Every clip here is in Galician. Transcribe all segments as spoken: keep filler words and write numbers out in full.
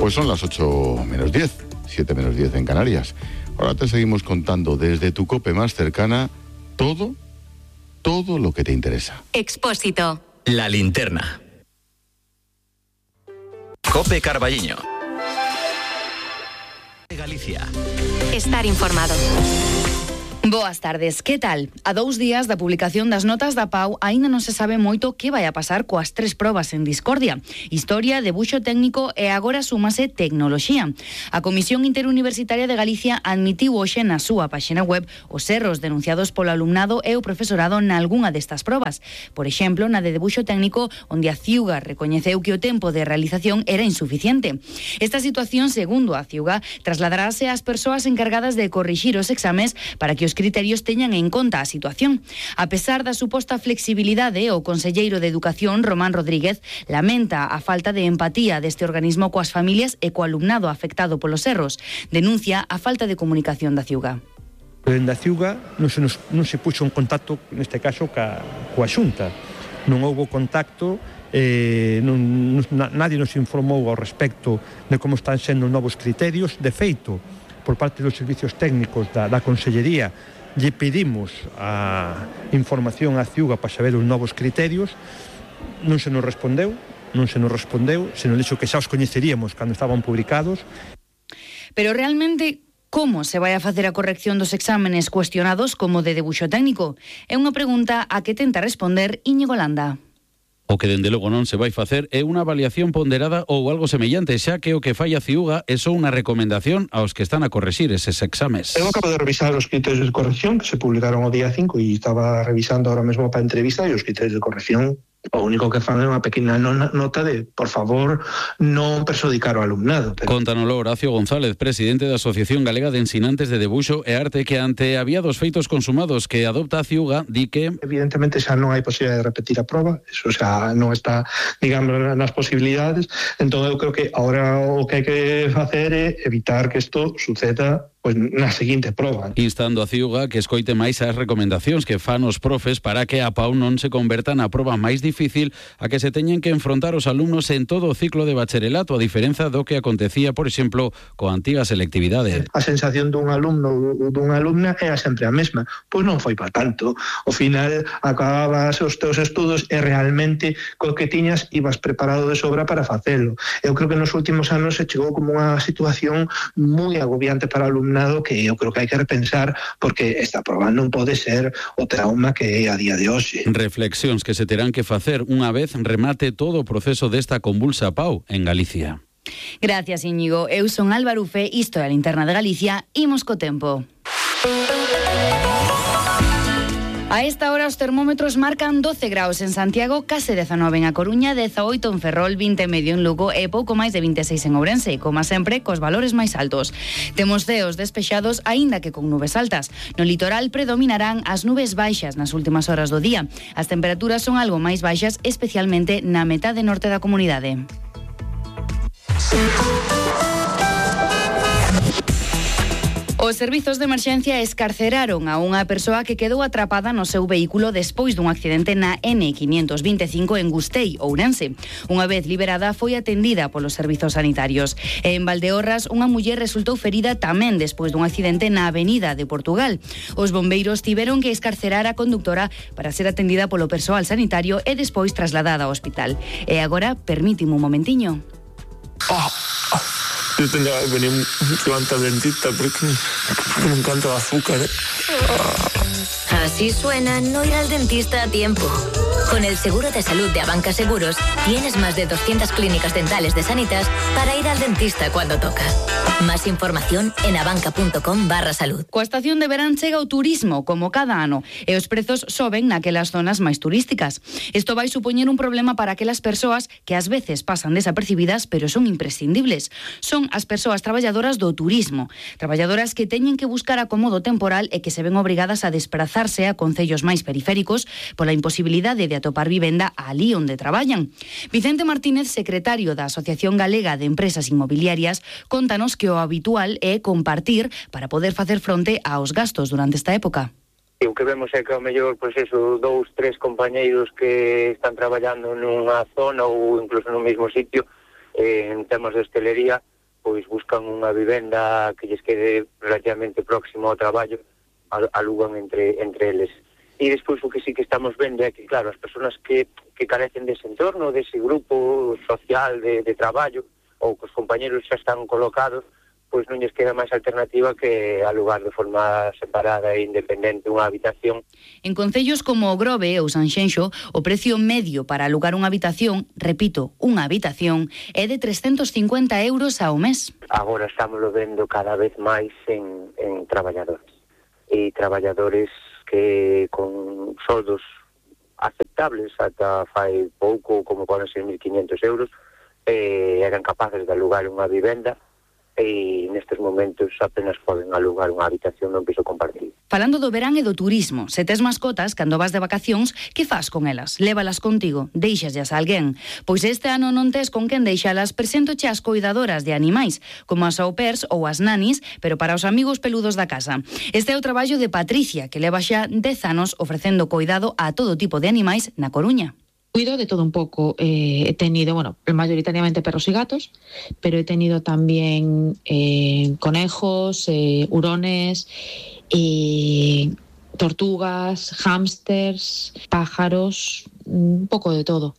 Pues son las ocho menos diez, siete menos diez en Canarias. Ahora te seguimos contando desde tu COPE más cercana todo, todo lo que te interesa. Expósito. La linterna. COPE Carballiño. Galicia. Estar informado. Boas tardes, que tal? A dous días da publicación das notas da P A U aínda non se sabe moito que vai a pasar coas tres probas en discordia. Historia, debuxo técnico e agora súmase tecnoloxía. A Comisión Interuniversitaria de Galicia admitiu hoxe na súa páxina web os erros denunciados polo alumnado e o profesorado nalgunha destas probas. Por exemplo, na de debuxo técnico, onde a Ciuga recoñeceu que o tempo de realización era insuficiente. Esta situación, segundo a Ciuga, trasladarase ás persoas encargadas de corrixir os exames para que os criterios teñan en conta a situación. A pesar da suposta flexibilidade, o conselleiro de Educación, Román Rodríguez, lamenta a falta de empatía deste organismo coas familias e co alumnado afectado polos erros. Denuncia a falta de comunicación da Ciuga. Dende a Ciuga non se, nos, non se puxo en contacto, neste caso, ca, coa Xunta. Non houbo contacto, eh, non, non, nadie nos informou ao respecto de como están sendo novos criterios. De feito, por parte dos servicios técnicos da, da Consellería, lle pedimos a información á Ciuga para saber os novos criterios, non se nos respondeu, non se nos respondeu, se nos dixo que xa os coñeceríamos cando estaban publicados. Pero realmente, como se vai a facer a corrección dos exámenes cuestionados como de debuxo técnico? É unha pregunta a que tenta responder Íñigo Landa. O que dende logo non se vai facer é unha avaliación ponderada ou algo semellante, xa que o que fai a Ciuga é só unha recomendación aos que están a correxir eses exames. Eu acabo de revisar os criterios de corrección que se publicaron o día cinco e estaba revisando ahora mesmo para a entrevista, e os criterios de corrección o único que fan é unha pequena nota de, por favor, non perxudicar o alumnado. Pero... Contanolo Horacio González, presidente da Asociación Galega de Ensinantes de Debuxo e Arte, que ante había dos feitos consumados que adopta a Ciuga, di que... Evidentemente xa non hai posibilidade de repetir a proba, eso xa non está, digamos, nas posibilidades, entón eu creo que agora o que hai que facer é evitar que isto suceda pois na seguinte proba. Instando a Ciuga que escoite máis as recomendacións que fan os profes para que a P A U non se converta na proba máis difícil a que se teñen que enfrontar os alumnos en todo o ciclo de bacharelato, a diferenza do que acontecía, por exemplo, coa antiga selectividade. A sensación dun alumno ou dunha alumna era sempre a mesma. Pois non foi para tanto. Ao final acababas os teus estudos e realmente co que tiñas ibas preparado de sobra para facelo. Eu creo que nos últimos anos se chegou como unha situación moi agobiante para o alumno, que eu creo que hai que repensar, porque esta proba non pode ser o trauma que é a día de hoxe. Reflexións que se terán que facer unha vez remate todo o proceso desta convulsa P A U en Galicia. Gracias, Íñigo. Eu son Álvaro Ufe, isto é a Linterna de Galicia, imos co tempo. A esta hora os termómetros marcan doce graus en Santiago, case dezanove en A Coruña, dezaoito en Ferrol, vinte e medio en Lugo e pouco máis de vinte e seis en Ourense, como sempre, cos valores máis altos. Temos ceos despexados, aínda que con nubes altas. No litoral predominarán as nubes baixas nas últimas horas do día. As temperaturas son algo máis baixas, especialmente na metade norte da comunidade. Os servizos de emerxencia escarceraron a unha persoa que quedou atrapada no seu vehículo despois dun accidente na ene quinientos vinte e cinco en Gustei, Ourense. Unha vez liberada, foi atendida polos servizos sanitarios. E en Valdeorras, unha muller resultou ferida tamén despois dun accidente na avenida de Portugal. Os bombeiros tiveron que escarcerar a conductora para ser atendida polo persoal sanitario e despois trasladada ao hospital. E agora, permítime un momentiño. Oh, oh. Yo tendría que venir antes al dentista porque me encanta el azúcar, ¿eh? Así suena no ir al dentista a tiempo. Con el seguro de salud de Abanca Seguros tienes más de doscientas clínicas dentales de Sanitas para ir al dentista cuando toca. Más información en abanca.com barra salud. Coa estación de verán chega o turismo, como cada ano, e os prezos soben naquelas zonas máis turísticas. Isto vai supoñer un problema para aquelas persoas que ás veces pasan desapercibidas, pero son imprescindibles. Son as persoas traballadoras do turismo, traballadoras que teñen que buscar acomodo temporal e que se ven obrigadas a desprazarse a concellos máis periféricos pola imposibilidade de atopar vivenda alí onde traballan. Vicente Martínez, secretario da Asociación Galega de Empresas Inmobiliarias, contanos que o habitual é compartir para poder facer fronte aos gastos durante esta época. O que vemos é que ao mellor, pois eso, dous, tres compañeiros que están traballando nunha zona ou incluso no mesmo sitio, eh, en temas de hostelería, pois buscan unha vivenda que lles quede relativamente próximo ao traballo, alugan entre, entre eles. E despois o que sí que estamos vendo é que, claro, as persoas que, que carecen dese entorno, dese grupo social de, de traballo, ou que os compañeros xa están colocados, pois non lles queda máis alternativa que alugar de forma separada e independente unha habitación. En concellos como o Grove ou Sanxenxo, o precio medio para alugar unha habitación, repito, unha habitación, é de trescentos cincuenta euros ao mes. Agora estamos vendo cada vez máis en, en traballadores. E traballadores que con soldos aceptables ata fai pouco, como poden ser mil quinhentos euros, eh, eran capaces de alugar unha vivenda e nestes momentos apenas poden alugar unha habitación nun piso compartido. Falando do verán e do turismo, se tes mascotas, cando vas de vacacións, que fas con elas? Lévalas contigo? Deixaslas a alguén? Pois este ano non tes con quen deixalas, preséntoche as coidadoras de animais, como as au pairs ou as nanis, pero para os amigos peludos da casa. Este é o traballo de Patricia, que leva xa dez anos ofrecendo coidado a todo tipo de animais na Coruña. Cuido de todo un poco. Eh, he tenido, bueno, mayoritariamente perros y gatos, pero he tenido también eh, conejos, eh, hurones, eh, tortugas, hámsters, pájaros, un poco de todo.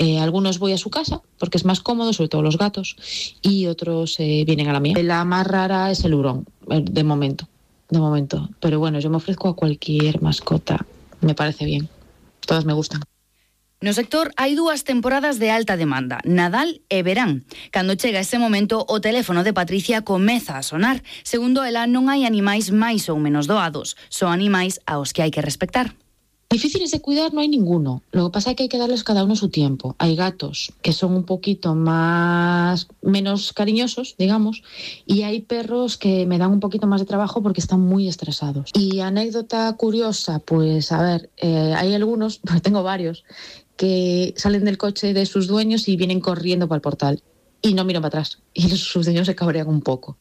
Eh, algunos voy a su casa porque es más cómodo, sobre todo los gatos, y otros eh, vienen a la mía. La más rara es el hurón, de momento, de momento. Pero bueno, yo me ofrezco a cualquier mascota, me parece bien. Todas me gustan. No sector hai dúas temporadas de alta demanda, Nadal e verán. Cando chega ese momento, o teléfono de Patricia comeza a sonar. Segundo ela, non hai animais máis ou menos doados, son animais aos que hai que respectar. Difíciles de cuidar no hay ninguno. Lo que pasa es que hay que darles cada uno su tiempo. Hay gatos que son un poquito más menos cariñosos, digamos, y hay perros que me dan un poquito más de trabajo porque están muy estresados. Y anécdota curiosa, pues a ver, eh, hay algunos, porque tengo varios, que salen del coche de sus dueños y vienen corriendo para el portal y no miran para atrás. Y sus dueños se cabrean un poco.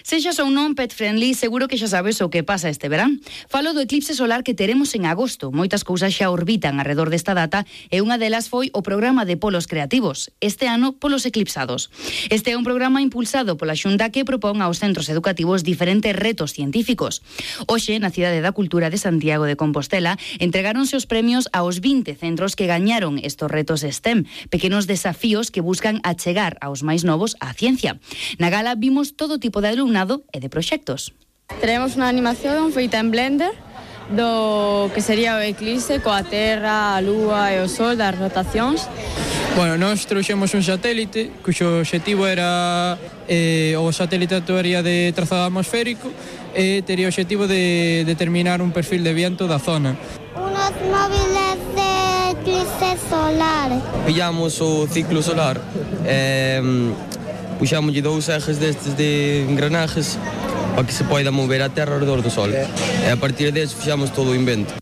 Sexas ou non pet friendly, seguro que xa sabes o que pasa este verán. Falo do eclipse solar que teremos en agosto. Moitas cousas xa orbitan alrededor desta data e unha delas foi o programa de polos creativos, este ano polos eclipsados. Este é un programa impulsado pola Xunta que propón aos centros educativos diferentes retos científicos. Hoxe, na Cidade da Cultura de Santiago de Compostela, entregáronse os premios aos vinte centros que gañaron estos retos STEM, pequenos desafíos que buscan achegar aos máis novos á ciencia. Na gala vimos todo tipo de de alumnado e de proxectos. Teremos unha animación feita en Blender do que sería o eclipse coa Terra, a Lúa e o Sol das rotacións. Bueno, nós trouxemos un satélite cuxo obxectivo era eh, o satélite actuaría de trazado atmosférico e tería o obxectivo de determinar un perfil de viento da zona. Unos móviles de eclipse solar. Pillamos o ciclo solar e eh, puxámoslle dous ejes destes de engranajes para que se poida mover a Terra ao redor do Sol. E a partir deso fixamos todo o invento.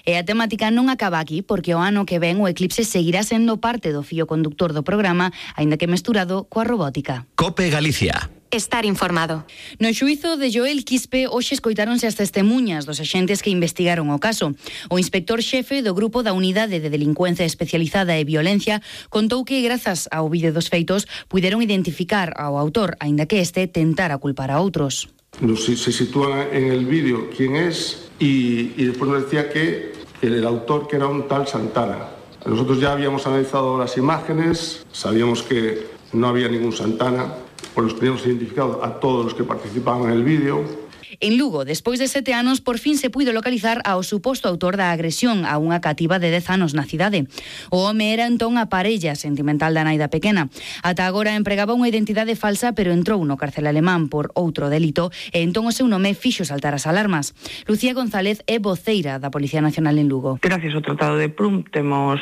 E a temática non acaba aquí, porque o ano que ven o eclipse seguirá sendo parte do fío conductor do programa, aínda que mesturado coa robótica. COPE Galicia. Estar informado. No xuízo de Joel Quispe, hoxe escoitáronse as testemunhas dos axentes que investigaron o caso. O inspector xefe do Grupo da Unidade de Delincuencia Especializada e Violencia contou que, grazas ao vídeo dos feitos, puderon identificar ao autor, aínda que este tentara culpar a outros. Se sitúa en el vídeo quién es y, y después nos decía que el autor que era un tal Santana. Nosotros ya habíamos analizado las imágenes, sabíamos que no había ningún Santana, pues los teníamos identificado a todos los que participaban en el vídeo. En Lugo, despois de sete anos, por fin se puido localizar ao suposto autor da agresión a unha cativa de dez anos na cidade. O home era entón a parella sentimental da nai da pequena. Ata agora empregaba unha identidade falsa, pero entrou no cárcel alemán por outro delito e entón o seu nome fixo saltar as alarmas. Lucía González é voceira da Policía Nacional en Lugo. Gracias ao Tratado de Prüm temos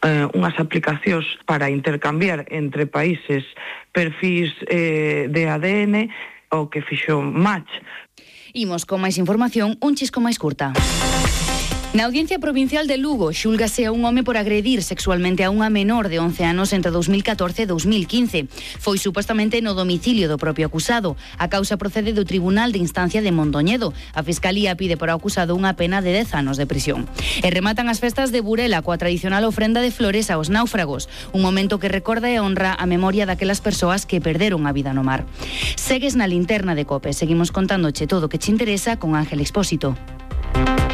eh, unhas aplicacións para intercambiar entre países perfis eh, de A D N o que fixo match. Imos con máis información, un chisco máis curta. Na Audiencia Provincial de Lugo xúlgase a un home por agredir sexualmente a unha menor de once anos entre dous mil catorce e dous mil quince. Foi supostamente no domicilio do propio acusado. A causa procede do Tribunal de Instancia de Mondoñedo. A Fiscalía pide por acusado unha pena de dez anos de prisión. E rematan as festas de Burela coa tradicional ofrenda de flores aos náufragos. Un momento que recorda e honra a memoria daquelas persoas que perderon a vida no mar. Segues na linterna de COPE. Seguimos contándoche todo o que te interesa con Ángel Expósito.